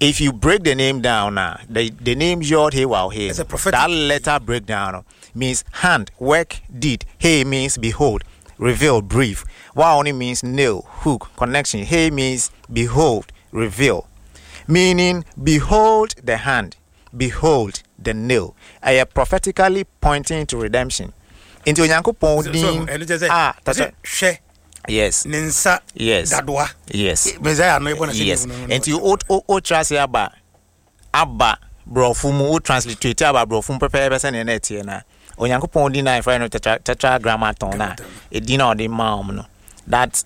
If you break the name down now, the name Yod He Waw He, It's a prophetic- that letter breakdown means hand, work, deed. He means behold, reveal, brief. Waw only means nail, hook, connection. He means behold, reveal. Meaning, behold the hand, behold the nail. Ɛyɛ prophetically pointing to redemption. Nti Onyankopɔn din ɛno kyerɛ sɛ a ɔse hwɛ ne nsa dadoa. Messiah no ɛbɔ na sɛ no. Nti o tra ase aba borɔfo mu, o transliterate aba borɔfo mu pɛpɛɛpɛ sɛnea na ɛteɛ na Onyankopɔn din na yɛfrɛ no tetragrammaton na ɛdin na ɔde maa wɔn no, that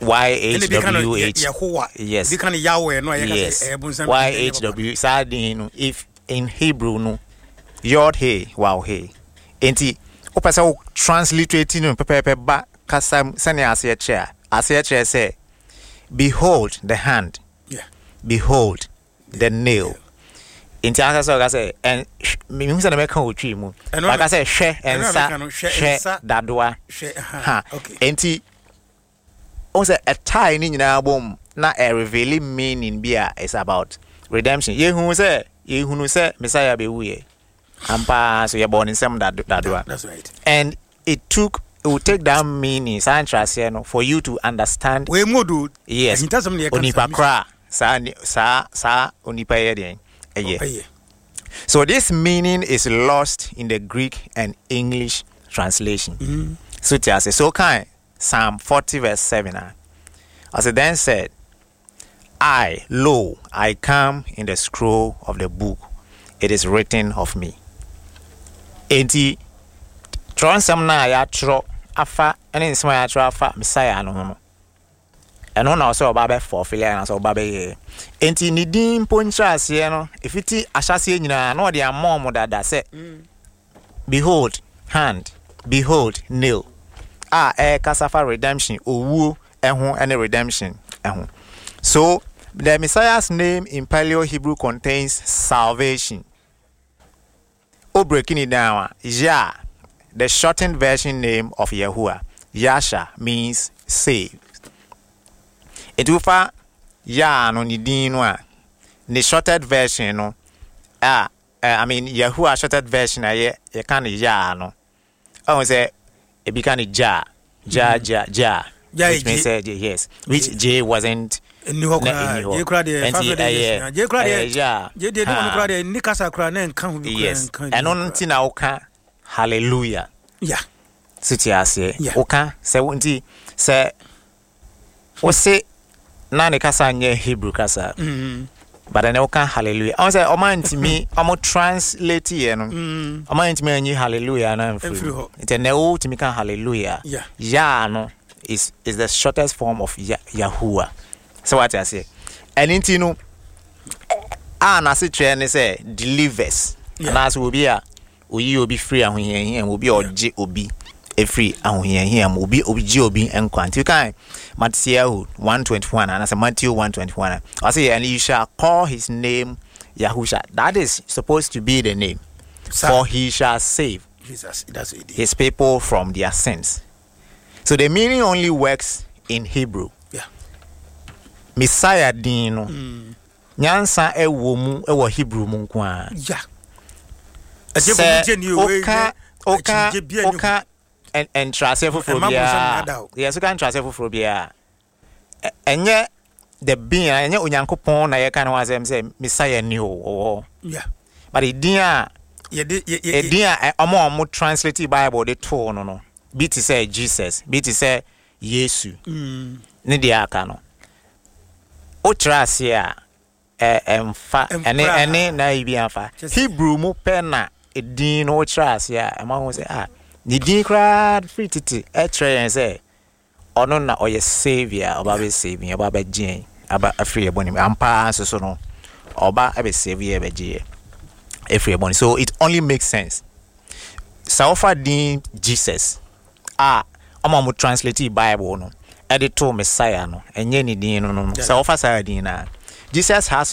Y H Ɛna bi ka no W H. Yehowa. Yes. Bi ka no Yahweh no a yɛka sɛ ɛyɛ bonsam. Y H W saa din no, if in Hebrew no, Yod He Waw He. Nti wopɛ sɛ wo transliterate no pɛpɛɛpɛ ba kasa mu sɛnea aseɛ kyerɛ a, aseɛ kyerɛ sɛ behold the hand, behold the nail. Nti ansa sɛ ɔka sɛ mehu sɛ na mɛka wɔ Twi mu, Ɛno waka sɛ hwɛ ɛno na nsa, mɛka no, hwɛ hwɛ nsa, dadoa. Hwɛ aha, Ha. Nti wohu sɛ ɛtae ne nyinaa bom na ɛreveal meaning bi a it's about redemption. Yɛhu sɛ yɛhunu sɛ Messiah bɛwuyɛ ampaa, so yɛbɔɔ ne nsɛm dadoa. That's right. And it will take that meaning, saa nkyerɛaseɛ no, for you to understand. Wei mu odo. Ahintasɛm na yɛka no. Onipa koraa saa onipa yɛ deɛn ɛyɛ. Ɛyɛ. So this meaning is lost in the Greek and English translation. So te ase so kan Psalm 40 verse 7 a, ɔsɛ, "Then said I, Lo, I come, in the scroll of the book it is written of me." Enti twerɛ nsɛm no a yɛatwerɛ afa ne nsɛm a yɛatwerɛ afa Messiah no ho no, ɛno na ɔsɛ ɔba bɛ fulfill anaasɛ ɔba bɛyɛ. Enti ne din mpo nkyerɛaseɛ no, ɛfiti ahyɛaseɛ nyinaa na ɔde ama ɔmo dada sɛ behold hand, behold nail, a ɛrekasa fa redemption, owuo ɛho ne redemption ɛho. So the Messiah's name in Paleo Hebrew contains salvation. O breaking it down a, Yah, the shortened version name of Yahuwah, Yasha, means save. Nti wofa Yah no ne din no a, ne shorted version no a, I mean Yahuwah shorted version a yɛ yɛka no Yah no, ɔhu sɛ ebi ka no Ja, Ja, Ja, Ja, Ja which means J. J, yes, which J wasn't Ɛnni hɔ na koraa. ɛnni hɔ. Gye koraa deɛ, Nti 500 years na. Gye koraa deɛ, ɛyɛ Yah. gye deɛ, ne wɔn Ha. koraa deɛ, nni kasa koraa na ɛnka ho bi koraa, nka ɛno bi koraa. nti na woka hallelujah. So te aseɛ. Woka sɛ nti sɛ wose na ne kasa nyɛ Hebrew kasa, but ɛnɛ woka hallelujah, ɔmo sɛ ɔma ntumi ɔmo translate yɛ no, ɔma ntumi anyi hallelujah no amfiri Amfiri mu. hɔ. Nti ɛnɛ wotumi ka hallelujah. Yah no is the shortest form of Yahuwah. Sɛ wate aseɛ, ɛno nti no a n'ase kyerɛ ne sɛ delivers, anaasɛ obi a oyi obi firi ahohiahia mu, obi a ɔgye obi efiri ahohiahia mu, obi gye obi nkwa. Nti kan Matthew 1:21 anaasɛ Matthew 1:21 a, ɔsɛ, "And you shall call his name Yahusha." That is supposed to be the name. "For he shall save Jesus, that's what it is. his people from their sins." So the meaning only works in Hebrew. Messiah din no, nyansa ɛwɔ mu ɛwɔ Hebrew mu nko ara. Ɛsɛ Sɛ ni o, wei woka akyinnyegye biara nni ho. woka nkyerɛaseɛ foforɔ Ɛmma bonsam biara nnada o. Yɛ so ka nkyerɛaseɛ foforɔ biara, ɛnyɛ the being a ɛnyɛ Onyankopɔn na yɛka ne ho asɛm sɛ Messiah ni o ɔwɔ hɔ. But edin a Yɛde yɛ edin a ɔmo a ɔmo translate Bible de too no, bi te sɛ Jesus, bi te sɛ Yesu ne deɛ aka no, wokyerɛ aseɛ a ɛmfa ɛne Ɛmfra. ɛne na yi bi amfa. Kyerɛ sɛ- Hebrew mu pɛ na edin no wokyerɛ aseɛ a, ɛma ho sɛ ah, ne din koraa firi tete ɛkyerɛ yɛn sɛ ɔno na ɔyɛ saviour, ɔba bɛ save yɛn, ɔba bɛgye yɛn aba afiri yɛn bɔne mu. Ampa nso so no, ɔba bɛ save yɛn, bɛgye yɛn afiri yɛn bɔne. So it only makes sense sɛ wofa din Jesus a ɔma mo translate Bible no ɛde to Messiah no, ɛnyɛ ne din no. Sɛ wofa saa din no a, Jesus has